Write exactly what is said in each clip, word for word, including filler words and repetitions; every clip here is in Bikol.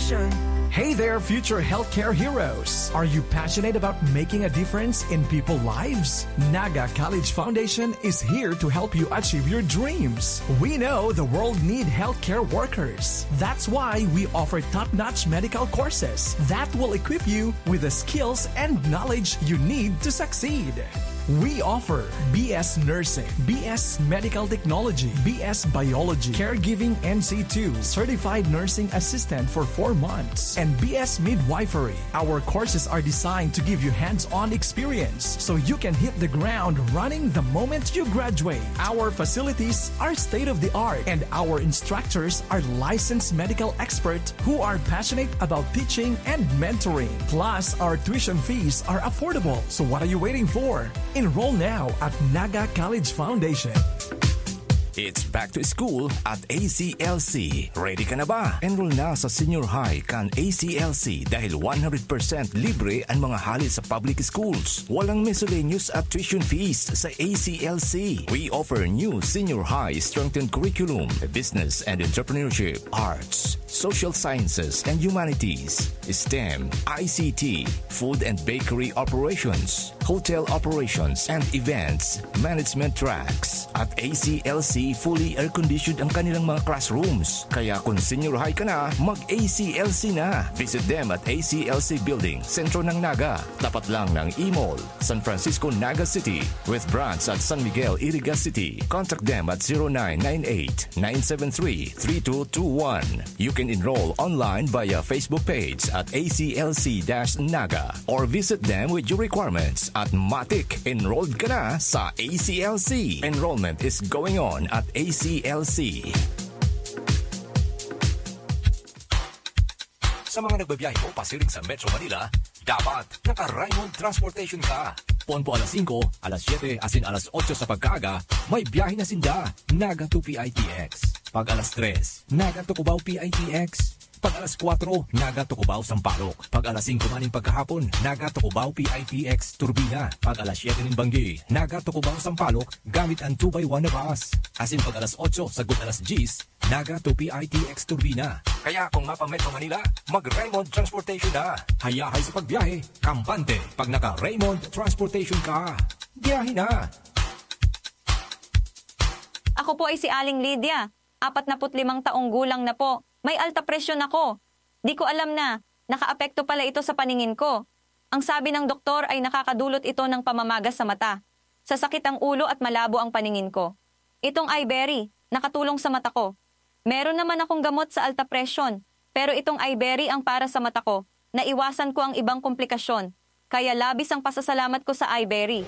Hey there, future healthcare heroes! Are you passionate about making a difference in people's lives? Naga College Foundation is here to help you achieve your dreams. We know the world need healthcare workers. That's why we offer top-notch medical courses that will equip you with the skills and knowledge you need to succeed. We offer B S Nursing, B S Medical Technology, B S Biology, Caregiving N C two, Certified Nursing Assistant for four months, and B S Midwifery. Our courses are designed to give you hands-on experience so you can hit the ground running the moment you graduate. Our facilities are state-of-the-art, and our instructors are licensed medical experts who are passionate about teaching and mentoring. Plus, our tuition fees are affordable. So what are you waiting for? Enroll now at Naga College Foundation. It's back to school at A C L C. Ready ka na ba? Enroll na sa senior high kan A C L C dahil one hundred percent libre ang mga hali sa public schools. Walang miscellaneous at tuition fees sa A C L C. We offer new senior high strengthened curriculum, business and entrepreneurship, arts, social sciences and humanities, STEM, I C T, food and bakery operations, hotel operations and events management tracks. At A C L C, fully air-conditioned ang kanilang mga classrooms. Kaya kung senior high ka na, mag-A C L C na. Visit them at A C L C Building, sentro ng Naga, tapat lang ng E-Mall, San Francisco, Naga City, with branch at San Miguel, Iriga City. Contact them at zero nine nine eight, nine seven three, three two two one. You can enroll online via Facebook page at A C L C dash Naga or visit them with your requirements at matik, enrolled ka na sa A C L C. Enrollment is going on at A C L C. Sa mga nagbabiyahe po pasiring sa Metro Manila, dapat naka-Raymond Transportation ka. Pon po alas singko, alas siyete, asin alas otso sa pagkaaga, may biyahe na sinda. Naga to P I T X. Pag alas tres, Naga to Cubao P I T X. Pag alas kwatro, Naga to Cubao Sampaloc. Pag alas singko maning pagkahapon, Naga to Cubao P I T X Turbina. Pag alas siyete nin banggi, Naga to Cubao Sampaloc gamit ang two by one na bus. Asin pag alas otso sagkod alas dyes, Naga to P I T X Turbina. Kaya kung mapa-Metro Manila, mag-Raymond Transportation na. Hayahay sa pagbiyahe, kampante pag naka-Raymond Transportation ka. Biyahe na! Ako po ay si Aling Lydia, apat na put limang taong gulang na po. May alta presyon ako. Di ko alam na nakaapekto pala ito sa paningin ko. Ang sabi ng doktor ay nakakadulot ito ng pamamaga sa mata, sasakit ang ulo at malabo ang paningin ko. Itong Iberry, nakatulong sa mata ko. Meron naman akong gamot sa alta presyon, pero itong Iberry ang para sa mata ko. Naiwasan ko ang ibang komplikasyon, kaya labis ang pasasalamat ko sa Iberry.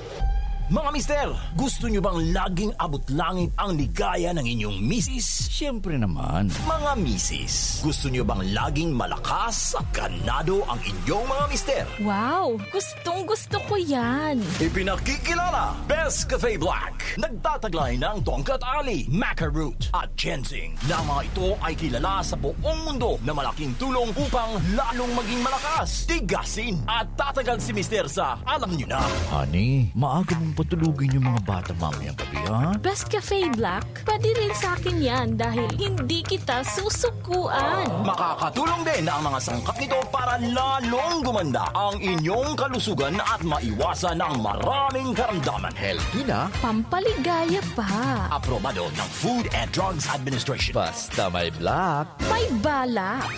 Mga mister, gusto nyo bang laging abot langit ang ligaya ng inyong misis? Siyempre naman. Mga misis, gusto nyo bang laging malakas at ganado ang inyong mga mister? Wow! Gustong gusto ko yan! Ipinakikilala, Best Cafe Black. Nagtataglay ng tongkat ali, maca root, at ginseng, na mga ito ay kilala sa buong mundo na malaking tulong upang lalong maging malakas, tigasin, at tatagal si Mister sa alam nyo na. Honey, maaga mong patulugin yung mga bata mamayang gabi, ha? Best Cafe Black, pwede rin sa akin yan dahil hindi kita susukuan. Makakatulong din ang mga sangkap nito para lalong gumanda ang inyong kalusugan at maiwasan ang maraming karamdaman. Healthy na. Pampaligaya pa. Aprobado ng Food and Drugs Administration. Basta may black. May balak.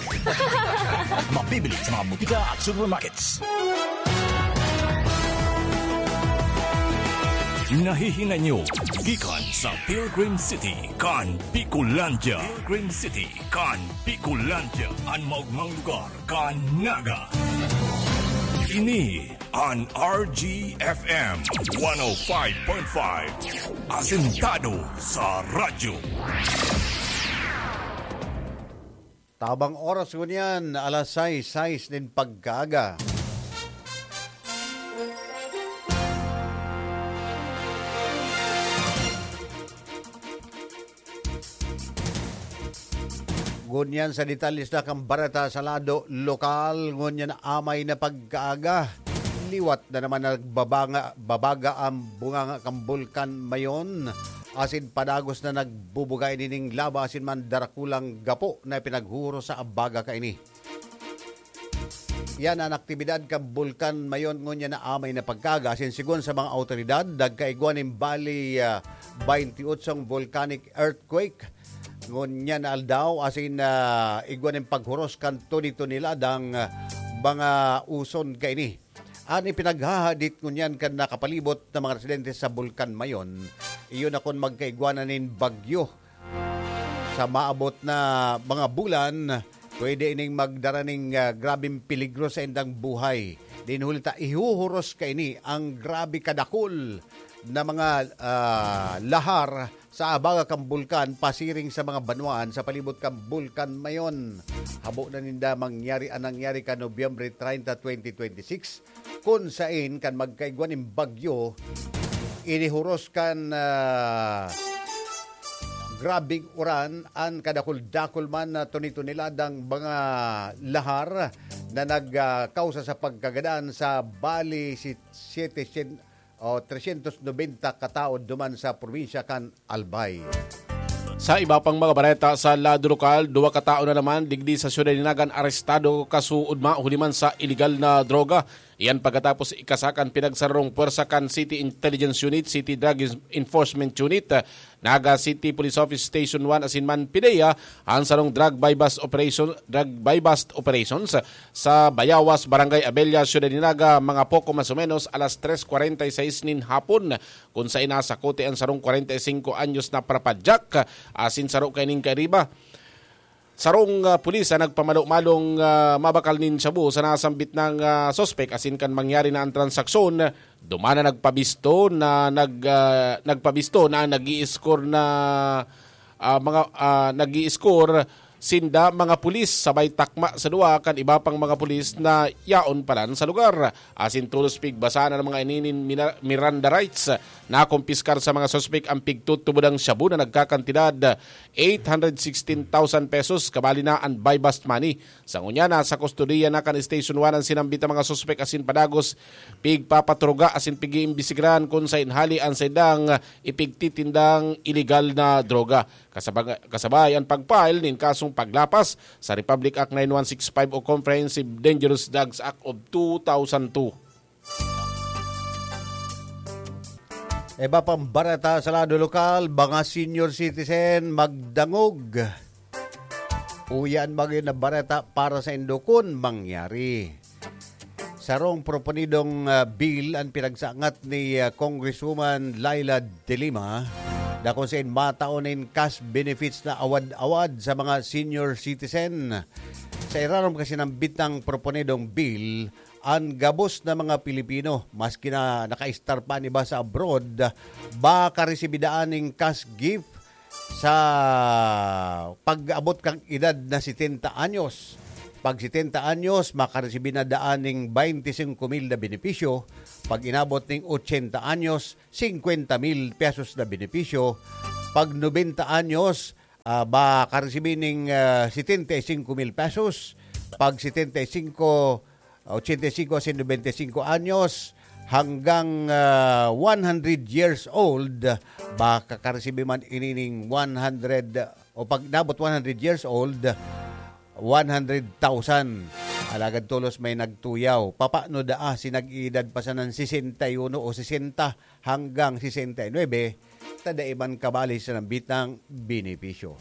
Mabibili sa mga butika at supermarkets. Nahihingan nyo gikan sa Pilgrim City kan Bicolandia. Pilgrim City kan Bicolandia, an maogmang lugar kan Naga. Ini an R G F M one oh five point five, asentado sa radyo. Tabang oras ngunyan, alas sais, sais nin pagkaaga. Ngunyan sa detalye sa kan bareta sa lado lokal, ngunyan amay na pagkaaga. Liwat na naman nagbabanga, babaga ang bunganga kan Bulkan Mayon. Asin padagos na nagbubuga ini ning laba asin man darakulang gapo na ipinaghuhuros sa abaga kaini. Yan an aktibidad kan Bulkan Mayon ngunyan na amay na pagkaga. Asin sigon sa mga awtoridad, nagkaigwa nin bali, ah, twenty-eight volcanic earthquake. Ngunyan na aldaw, asin, ah, igwa nin paghuros kan tuni-tuni ladang, ah, mga uson kaini. An ipinaghahadit ngunyan kan nakapalibot na mga residente sa Bulkan Mayon, iyo na kun magkaigwa na nin bagyo sa maabot na mga bulan, pwede ining magdara ning, ah, grabeng peligro sa indang buhay. Din huli ta ihuhuros kaini ang grabe kadakul na mga, ah, lahar sa abaga kan bulkan pasiring sa mga banwaan sa palibot kan Bulkan Mayon. Habo na ninda mangyari an nangyari kan Nobyembre treinta, twenty twenty-six, kun sain kan magkaigwa nin bagyo, inihuros kan, ah, grabeng uran an kadakul-dakul man na tuni-tuni ladang mga lahar na nagkausa sa pagkagadan sa bali si siyete syen-, o tresyentos nobenta ka tawo duman sa probinsya kan Albay. Sa iba pang mga bareta sa lado lokal, duwa ka tawo na naman digdi sa Syudad nin Naga an arestado kasuodma huli man sa iligal na droga. Iyan pagkatapos ikasakan pinagsararong pwersa kan City Intelligence Unit, City Drug Enforcement Unit, Naga City Police Office Station one asin man PDEA an sarong drug buy-bust operation, drug buy-bust operations sa Bayawas, Barangay Abella, Syudad nin Naga, mga poko mas o menos alas tres kwarenta y seis nin hapon, kun sain nasakote an sarong kwarenta y singko anyos na parapadyak asin saro kaining kairiba. Sarong, ah, pulis ang nagpamalo-malong, ah, mabakal nin shabu sa nasambit nang, ah, suspek asin kan mangyari na an transaksyon, duman na nagpabisto na nag, ah, nagpabisto na nag-i-score na, ah, mga, ah, nag-i-score sinda mga pulis sabay takma sa duwa kan iba pang mga pulis na yaon palan sa lugar. Asin tolos pigbasa na ng mga ininin mina-, Miranda rights, nakumpiskar sa mga suspek ang pigtutubodang shabu na nagkakantidad eight hundred sixteen thousand pesos, kabali na an buy-bust money. Sa ngunyan, nasa kustodiya na kan Station one an sinambit na mga suspek asin padagos pigpapatruga asin pig-iimbestigaran kun sain hali an saindang ipigtitindang iligal na droga. Kasabag-, kasabay an pag-file nin kasong paglapas sa Republic Act nine one six five o Comprehensive Dangerous Drugs Act of two thousand two. Iba pang bareta sa lado lokal, mga senior citizen magdangog. Uya an mga yun na bareta para sa indo kun mangyari. Sarong proponidong, ah, bill an pinagsangat ni, ah, Congresswoman Leila de Lima, na kung sain matao nin cash benefits na awad-awad sa mga senior citizen. Sa irarom kasi ng bitang proponidong bill, an gabos na mga Pilipino, maski na naka-estar pa an iba sa abroad, makaresibir daan nin cash gift sa pag-abot kan edad na setenta anyos. Pag setenta anyos, makaresibir na daan nin twenty-five mil na benepisyo. Pag inabot nin ochenta anyos, singkwenta mil pesos na benepisyo. Pag nobenta anyos, ah, makaresibir nin, ah, setenta y cinco mil pesos. Pag setenta y cinco, ochenta y cinco asin nobenta y cinco anyos, hanggang, ah, one hundred years old, makakaresibi man ini nin one hundred, o pag nabot one hundred years old, one hundred thousand. Alagad tolos may nagtuyaw. Papaano daa si nag-iidad pa sanan sesenta y uno o sesenta hanggang sesenta y nuebe, ta dai man kabali sa nambitang benepisyo.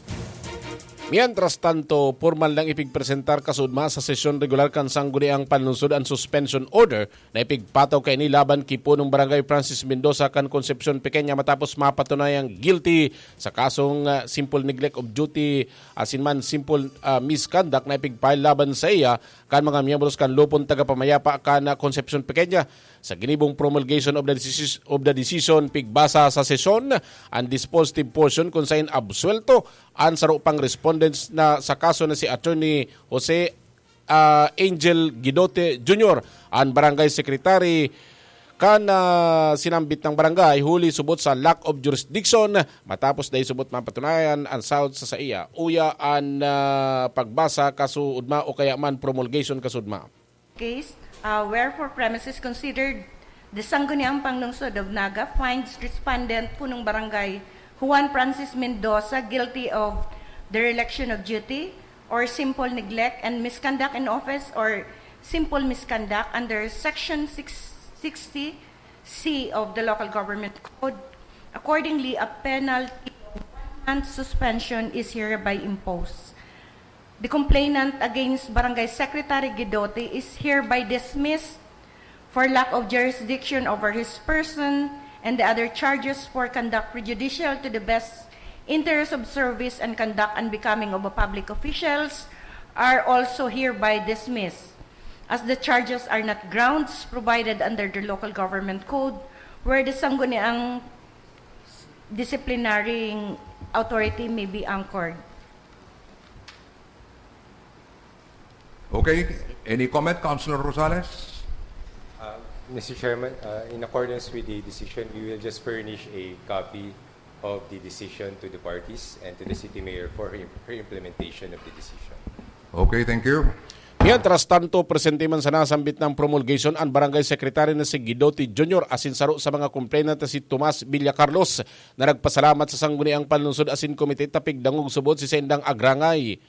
Mientras tanto, pormal nang ipigpresentar kasuodma sa sesyon regular kan Sangguniang Panlungsod an suspension order na ipigpataw kaini laban ki punong barangay Francis Mendoza kan Concepcion Pequeña matapos mapatunayang guilty sa kasong, ah, simple neglect of duty asin man simple, ah, misconduct na ipigfile laban sa iya kan mga miyembros kan Lupon Tagapamayapa kan, ah, Concepcion Pequeña. Sa ginibong promulgation of the decis-, of the decision, pigbasa sa sesyon an dispositive portion kun sain absuelto an saro pang respondents na sa kaso na si Attorney Jose, ah, Angel Guidote Junior, an barangay secretary kan, ah, sinambit na barangay, huli subot sa lack of jurisdiction, matapos dai subot mapatunayan an sahod sa saiya. Uya an, ah, pagbasa kasuodma o kaya man promulgation kasuodma. Case, uh, wherefore premises considered, the Sangguniang Panglungsod of Naga finds respondent punong barangay Juan Francis Mendoza guilty of dereliction of duty or simple neglect and misconduct in office or simple misconduct under Section six sixty C of the Local Government Code. Accordingly, a penalty of one month suspension is hereby imposed. The complainant against Barangay Secretary Guidotti is hereby dismissed for lack of jurisdiction over his person, and the other charges for conduct prejudicial to the best interest of service and conduct unbecoming of a public officials are also hereby dismissed, as the charges are not grounds provided under the Local Government Code where the sangguniang disciplinary authority may be anchored. Okay, any comment, Councilor Rosales? Uh, Mister Chairman, uh, in accordance with the decision, we will just furnish a copy of the decision to the parties and to the city mayor for her, her implementation of the decision. Okay, thank you. Mientras tanto, presente man sa nasambit ng promulgation ang barangay secretary na si Guidotti Junior asin saro sa mga complainant na si Tomas Villacarlos, na nagpasalamat sa Sangguniang Panlungsod asin Komite ta pigdangog subod si saindang agrangay.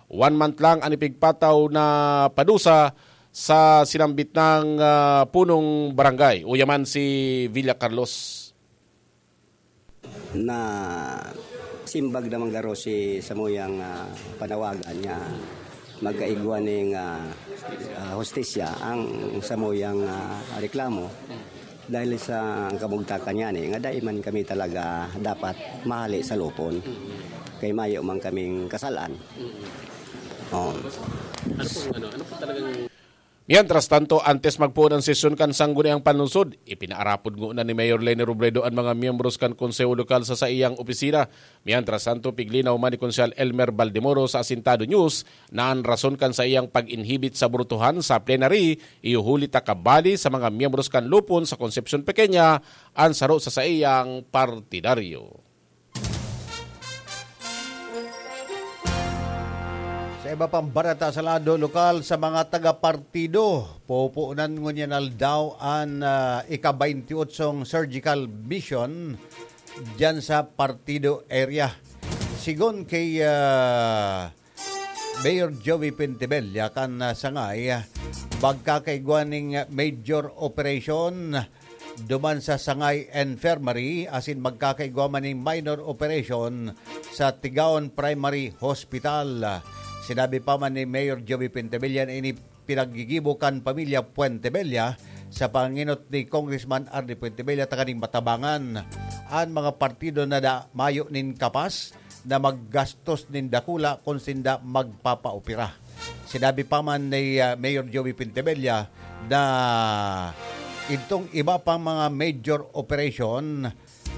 One month lang an ipigpataw na padusa sa sinambit ng ah, punong barangay. Uya man si Villacarlos. Nasimbag naman garo si samuyang ah, panawagan nga magkaigwa ning ah, ah, hustisya ang samuyang ah, reklamo dahil sa kamugtakan niyan eh, nga dai man kami talaga dapat mahali sa lupon kay mayo man kaming kasalan. Oh. Ano pong ano? Ano po talagang Mientras tanto, antes magpoon ang sesyon kan Sangguniang Panlungsod, ipinaarapod ngona ni Mayor Leni Robredo an mga miyembros kan Konseho Lokal sa saiyang opisina. Mientras tanto, piglinaw man ni Konsehal Elmer Baldemoro sa Asintado News na an rason kan saiyang pag-inhibit sa brutuhan sa plenary iyo huli ta kabali sa mga miyembros kan lupon sa Concepcion Pequeña an saro sa saiyang partidaryo. Sa iba pang bareta sa lado lokal, sa mga taga-partido, pupunan ngunyan aldaw an ah, ika-twenty-eight surgical mission diyan sa partido area. Sigon kay ah, Mayor Joey Pentebella kan ah, Sangay, magkakaigwa ning major operation duman sa Sangay Infirmary asin magkakaigwa man ning minor operation sa Tigaon Primary Hospital. Sinabi pa man ni Mayor Joey Pentebella na ini pinaggigibo kan pamilya Puentebella sa panginot ni Congressman Arnie Puentebella tanganing matabangan an mga partido na da, mayo nin kapas na maggastos nin dakula kun sinda magpapaopera. Sinabi pa man ni ah, Mayor Joey Pentebella na itong iba pang mga major operation,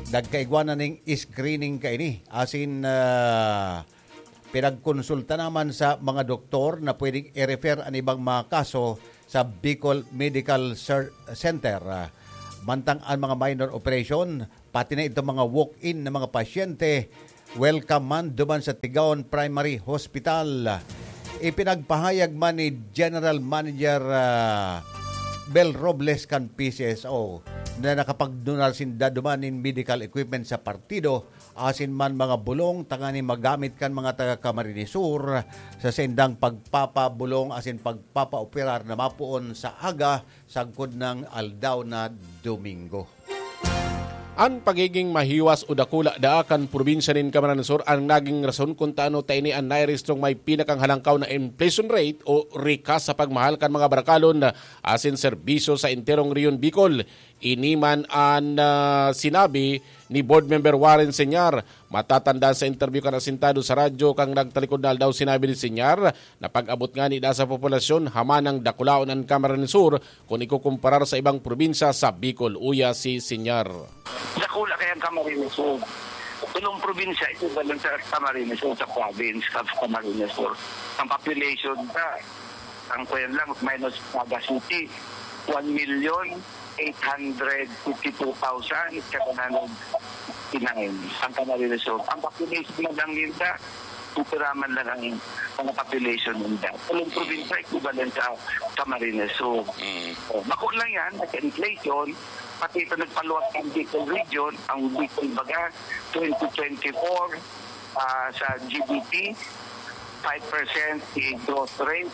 nagkaigwa na ning screening kaini. Asin ah, pinagkonsulta naman sa mga doktor na pwedeng i-refer an ibang mga kaso sa Bicol Medical Cer- Center. Ah, mantang ang mga minor operation, pati na itong mga walk-in na mga pasyente, welcome man duman sa Tigaon Primary Hospital. Ipinagpahayag man ni General Manager ah, Bel Robles kan P C S O na nakapagdunar sinda duman nin medical equipment sa partido asin man mga bulong tanganing magamit kan mga taga Camarines Sur sa saindang pagpapabulong asin pagpapaoperar na mapoon sa aga sagkod ng aldaw na Domingo. An pagiging mahiwas o dakula daa kan probinsya nin Camarines Sur ang naging rason kun taano ta ini an nairehistrong may pinakanghalangkaw na inflation rate o rikas sa pagmahal kan mga barakalon asin serbisyo sa enterong Rehiyon Bicol. Ini man an ah, sinabi ni Board Member Warren Señar. Matatandaan sa interview kan Asintado sa radyo kan nagtalikod na aldaw, sinabi ni Señar na pag-abot ngani daa sa populasyon, hamanang dakulaon an Camarines Sur kun ikukumparar sa ibang probinsya sa Bicol. Uya si Señar. Dakula kaya ang Camarines Sur. Tulong probinsya, equivalent sa Camarines Sur, sa province of Camarines Sur. Ang population ta, ang kuyan lang, minus Naga City, one million eight hundred fifty-two thousand seven hundred fifty-nine ang Camarines Sur. Ang population na lang ninda, Upiraman lang ang mga population ninda. Tulong probinsya, equivalent sa Camarines Sur. So, bako lang yan, sa inflation, pati ito nagpaluwag ang Bicol region, ang Bicol baga, twenty twenty-four, ah, sa G D P, five percent si growth rate.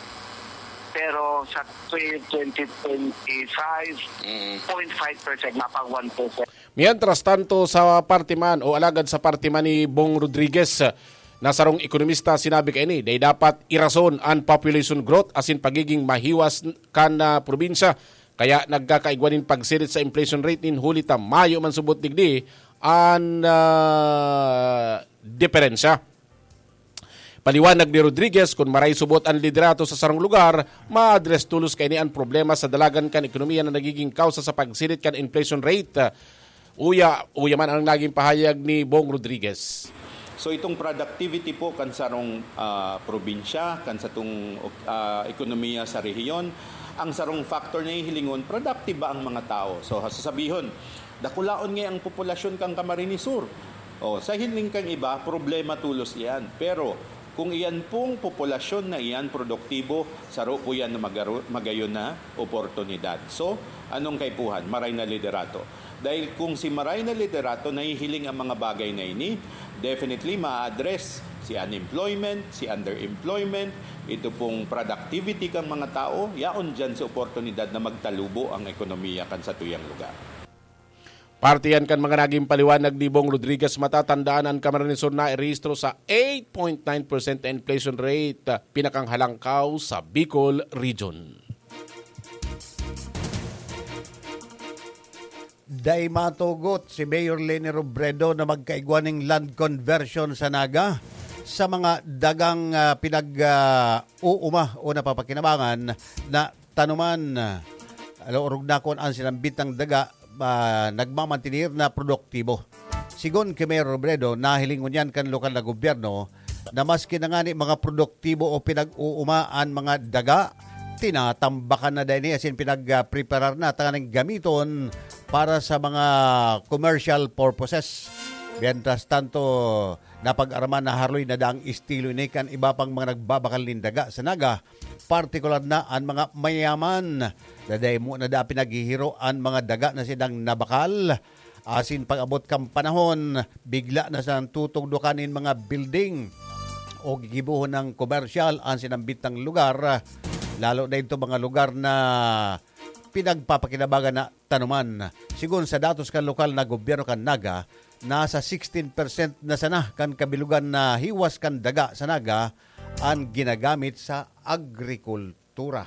Pero sa twenty twenty-five, Mm. zero point five percent, mapag one percent. Mientras tanto, sa parte man o alagad sa parte man ni Bong Rodriguez, na sarong ekonomista, sinabi kaini, dai dapat irason an population growth asin pagiging mahiwas kan ah, probinsya. Kaya nagkakaigwa nin pagsirit sa inflation rate nin huli ta mayo man subot digdi an ah, diferensya. Paliwanag ni Rodriguez, kun maray subot an liderato sa sarong lugar, ma-address tolos kaini an problema sa dalagan kan ekonomiya na nagiging kawsa sa pagsirit kan inflation rate. Uya, uya man ang naging pahayag ni Bong Rodriguez. So itong productivity po kan sarong ah, probinsya, kan satong ah, ekonomiya sa rehiyon, ang sarong factor na hihilingon, productive ba ang mga tao? So sasabihon, dakulaon nga ang populasyon kan Camarines Sur. O, sa hiling kan iba, problema tolos iyan. Pero kung iyan pong populasyon na iyan produktibo, saro po yan na magaro- magayon na oportunidad. So, anong kaipuhan? Maray na liderato. Dahil kung si maray na liderato nahihiling ang mga bagay na ini, definitely ma-address si unemployment, si underemployment, ito pong productivity kan mga tao, yaon dyan sa oportunidad na magtalubo ang ekonomiya kan satuyang lugar. Parte yan kan mga naging paliwanag ni Bong Rodriguez. Matatandaan, an Camarines Sur nairehistro sa eight point nine percent na inflation rate, ah, pinakanghalangkaw sa Bicol Region. Dai matugot si Mayor Leni Robredo na magkaigwa ning land conversion sa Naga sa mga dagang ah, pinag ah, uuma o napapakinabangan na tanuman. Alo, orog na kun an sinambitang daga ah, nagmamantener na produktibo. Sigon ki Mayor Robredo, nahiling ngunyan kan lokal na gobyerno na maski na ngani mga produktibo o pinag-uuma an mga daga, tinatambakan na daini asin pinagpreparar na tanganing gamiton para sa mga commercial purposes. Mientras tanto, napag-araman na haroy na daang estilo ini kan iba pang mga nagbabakal nin daga sa Naga, partikular na an mga mayaman. Dadaymo na da pinaghihiro an mga daga na sinang nabakal. Asin pag-abot kan panahon, bigla na sa tutugdokan nin mga building o gigibohon ng komersyal an sinambitang lugar, lalo na ito mga lugar na pinagpapakinabangan na tanuman. Sigon sa datos kan lokal na gobyerno kan Naga, nasa sixteen percent na sana kan kabilugan na hiwas kan daga sa Naga an ginagamit sa agrikultura.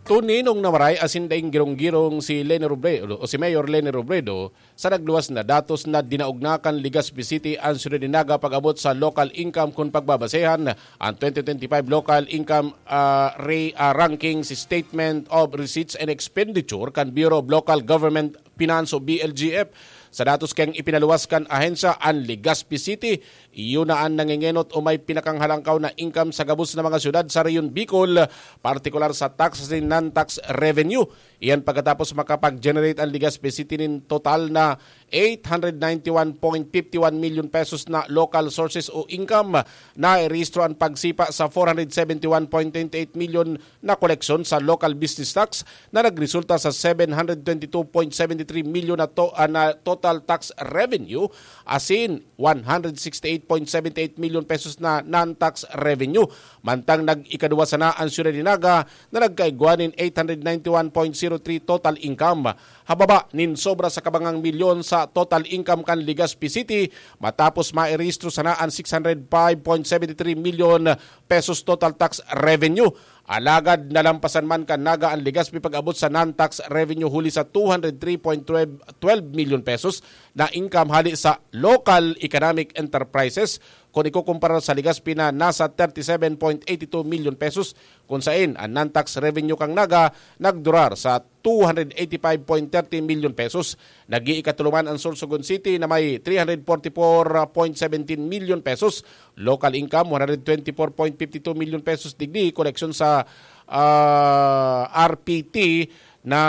Tuninong na maray asin daing girong-girong si Leni Robredo o si Mayor Leni Robredo sa nagluwas na datos na dinaog na kan Legazpi City an syudad nin Naga pag-abot sa local income. Kun pagbabasehan, ang twenty twenty-five local income ah, re, ah, ranking si Statement of Receipts and Expenditure kan Bureau of Local Government Finance o B L G F. Sa datos kayang ipinaluwas kan ahensya, an Legazpi City iyo na an nangengenot o may pinakanghalangkaw na income sa gabos na mga syudad sa Rehiyon Bicol, partikular sa tax asin non-tax revenue. Iyan pagkatapos makapag-generate an Legazpi City nin total na eight hundred ninety-one point fifty-one million pesos na local sources o income. Nairehistro an pagsipa sa four hundred seventy-one point twenty-eight million na koleksyon sa local business tax na nagresulta sa seven hundred twenty-two point seventy-three million na, to, ah, na total tax revenue, asin one hundred sixty-eight point seventy-eight million pesos na non-tax revenue. Mantang nag-ikaduwa sana an syudad ni Naga na nagkaigwa nin eight hundred ninety-one point zero three total income. Hababa nin sobra sa kabangang milyon sa total income kan Legazpi City, matapos mairehistro sana an six hundred five point seventy three million pesos total tax revenue. Alagad nalampasan man kan Naga an Legazpi pag-abot sa non-tax revenue huli sa two hundred three point twelve million pesos na income hali sa local economic enterprises, kun ikukumpara sa Legazpi na nasa thirty-seven point eighty-two million pesos, kun sain an non-tax revenue kan Naga nagdurar sa two hundred eighty-five point thirty million pesos. Nag-iikatulo man an Sorsogon City na may three hundred forty-four point seventeen million pesos, local income one hundred twenty-four point fifty-two million pesos, digdi koleksyon sa ah, R P T na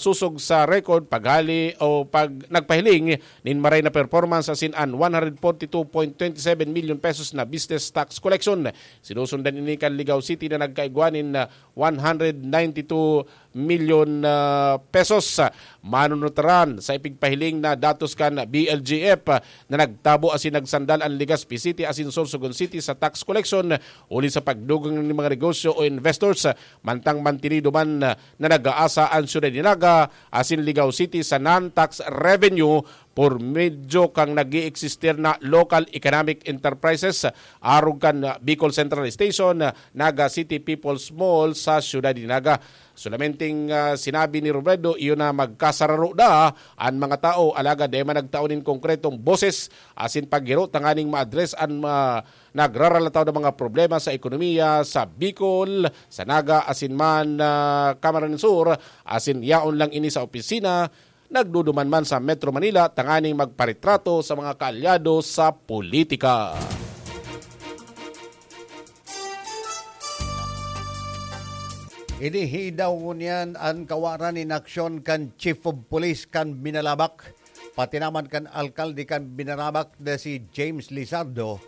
sosog sa record paghali o pag nagpahiling nin maray na performance asin an one hundred forty two point twenty seven million pesos na business tax collection. Sinusundan ini kan Ligao City na nagkaigwa nin, ah, one hundred ninety two million, ah, pesos. Manunutaran sa ipigpahiling na datos kan B L G F, ah, na nagtabo asin nagsandal an Legazpi City asin Sorsogon City sa tax collection huli sa pagdugang nin mga negosyo o investors, ah, mantang mantinido man, ah, na nag-aasa an siyudad ni Naga asin Ligao City sa non-tax revenue por medyo kan nag-eeksistir na local economic enterprises, arog kan, ah, Bicol Central Station, ah, Naga City People's Mall sa siyudad ni Naga. Solamenting, ah, sinabi ni Robredo, iyo na magkasararo na an mga tao, alagad dai man nagtao nin konkretong boses asin paghiro tanganing ma-address an, ah, nagraralataw na mga problema sa ekonomiya sa Bicol, sa Naga asin man, ah, Camarines Sur, asin yaon lang ini sa opisina, nagduduman man sa Metro Manila tanganing magparetrato sa mga kaalyado sa politika. Inihidaw ngunyan an kawaran nin aksyon kan Chief of Police kan Binalabak, pati naman kan alkalde kan Binalabak na si James Lizardo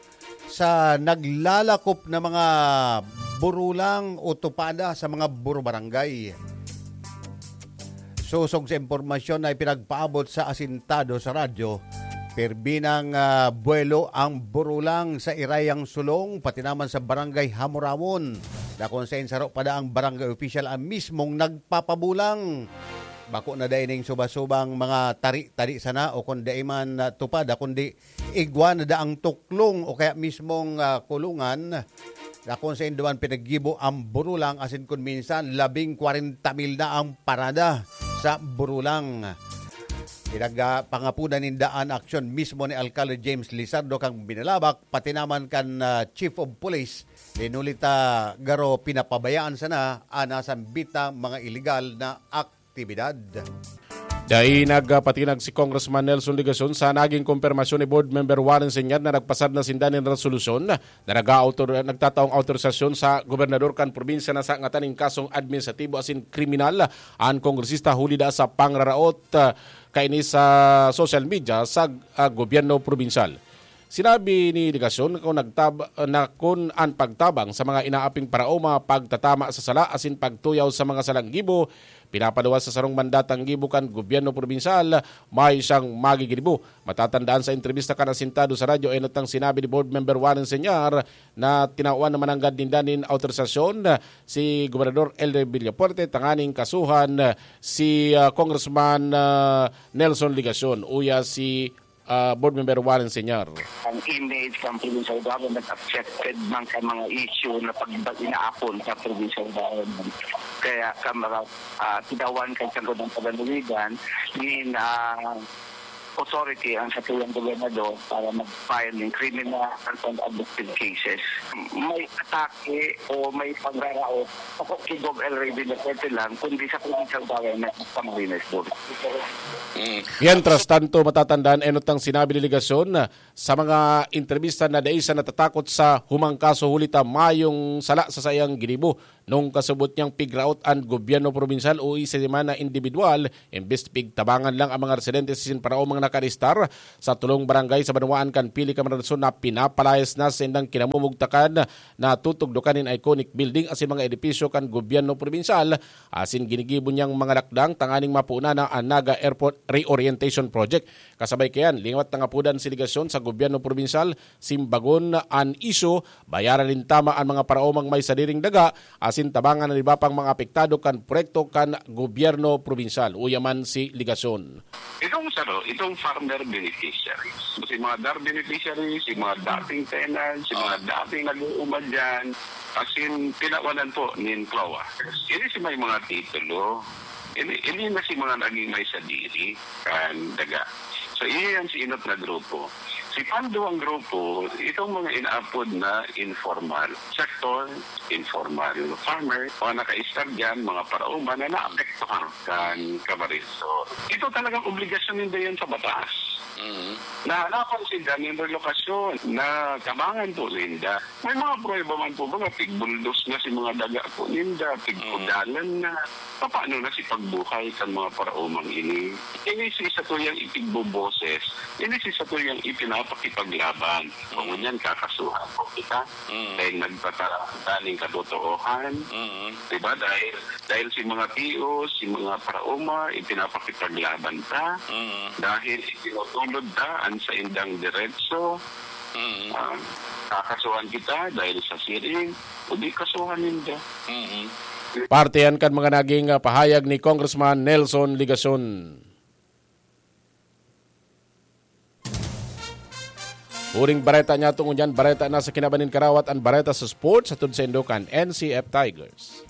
sa naglalakop na mga burulang o tupada sa mga buro barangay. Sosog sa impormasyon na ipinagpaabot sa asintado sa radyo, pirmi nang, ah, buwelo ang burulang sa Irayang Sulong, pati naman sa Barangay Hamurawon, na kung saen saro pa daang barangay official ang mismong nagpapabulang. Bako na dai ning suba-subang mga tari-tari sana o kung dai man, ah, tupada, kundi igwa na daang tuklong o kaya mismong, ah, kulungan, na kung saen duman pinaggibo ang burulang, asin kun minsan labing kwarenta mil na ang parada sa burulang. Pinagpangapunan ninda an aksyon mismo ni Alkalde James Lizardo kan Binalabak, pati naman kan, ah, Chief of Police, huli ta garo pinapabayaan sana an nasambit na mga iligal na aktibidad. Dai nagpatinag si Congressman Nelson Legacion sa naging kompermasyon ni Board Member Warren Señar na nagpasad na sinda nin resolusyon na nag-aautor-, nagtataong autorisasyon sa gobernador kan probinsya na sangatan nin kasong administratibo asin kriminal an kongresista huli daa sa pangraraot, ah, kaini sa social media sa, ah, gobyerno probinsyal. Sinabi ni Legacion kung nagtab-, na kun an pagtabang sa mga inaaping paraoma, pagtatama sa sala asin pagtuyaw sa mga salang gibo pinapaluwas sa sarong mandatang gibo kan gobyerno probinsyal, mayo siyang magiginibo. Matatandaan sa entrebista kan asintado sa radyo, enot ang sinabi ni Board Member Warren Señar na tinawan na mananggad ninda nin autorisasyon si Gobernador Elder Villafuerte tanganing kasuhan si, ah, Congressman, ah, Nelson Legacion uya si, ah, Board Member Warren Señar. Ang image ng provincial government affected man sa mga issue na pag-, inaapon sa provincial government. Kaya sa mga, ah, tinawan kan Sangguniang Panlalawigan, nin, ah, authority ang satuyang gobernador para mag-file ng criminal and administrative cases. May atake o may pangraraot, ako si Gov El Rey Villafuerte lang, kundi sa provincial government sa Camarines Sur. Mientras tanto, matatandaan, enot ang sinabi ni Legacion sa mga entrevista na dai siya natatakot sa humang kaso huli ta mayong sala sa saiyang ginibo. Nung kasabot niyang pigraot an gobyerno probinsyal o isa man na indibidwal, imbes pigtabangan lang ang mga residente sa sinparaomang nakaristar sa tulong barangay sa banwaan kan Pili Camarines Sur na pinapalayas na sa indang kinamumugtakan na tutugdokan nin iconic building asin mga edipisyo kan gobyerno probinsyal, asin ginigibo niyang mga lakdang tanganing mapunan na an Naga Airport Reorientation Project. Kasabay kayan, lingaw ta nga apodan si Legacion sa gobyerno probinsyal, simbagon an isyu, bayaran nin tama an mga paraomang may sadiring daga, asin tabangan an iba pang mga apektado kan proyekto kan gobyerno probinsyal. Uya man si Legacion. Itong saro, itong farmer beneficiaries. Si mga DAR beneficiaries, si mga dating tenants, si mga dating nag-uuma dyan, asin tinawanan po nin CLOA. Ini si may mga titulo. Ini, ini na si mga naging may sadiri kan daga. So, iyan si inot na grupo. Si panduwang grupo, itong mga inaapod na informal sector, informal farmer, mga nakaistar dyan, mga paraoma na naapektuhan kan Camarines Sur. Ito talagang obligasyon ninda yan sa batas. Mm. Nahanapan sinda nin relokasyon, natabangan po ninda. May mga pruweba man po ba nga pigbuldos na si mga daga po ninda, pigkudalan na. Paano na si pagbuhay kan mga paraomang ini? Ini si satuyang ipigboboses, ini si satuyang ipinapakipaglaban. Kung ngunyan, kakasuhan po kita. Mm. Dahil nagpatara kita ning katotoohan. Mm. Diba? Dahil, dahil si mga tios, si mga paraoma, ipinapakipaglaban ta. Mm. Dahil itinutulod ta ang saindang diretso. Mm. Ah, kakasuhan kita dahil sa siring, o di kasuhan ninda. Mm. Parte yan kan mga naging, ah, pahayag ni Congressman Nelson Legacion. Huring bareta niya tungod yan, bareta na sa kinaban nin karawat, ang bareta sa sports, hatod sa Indokan, N C F Tigers.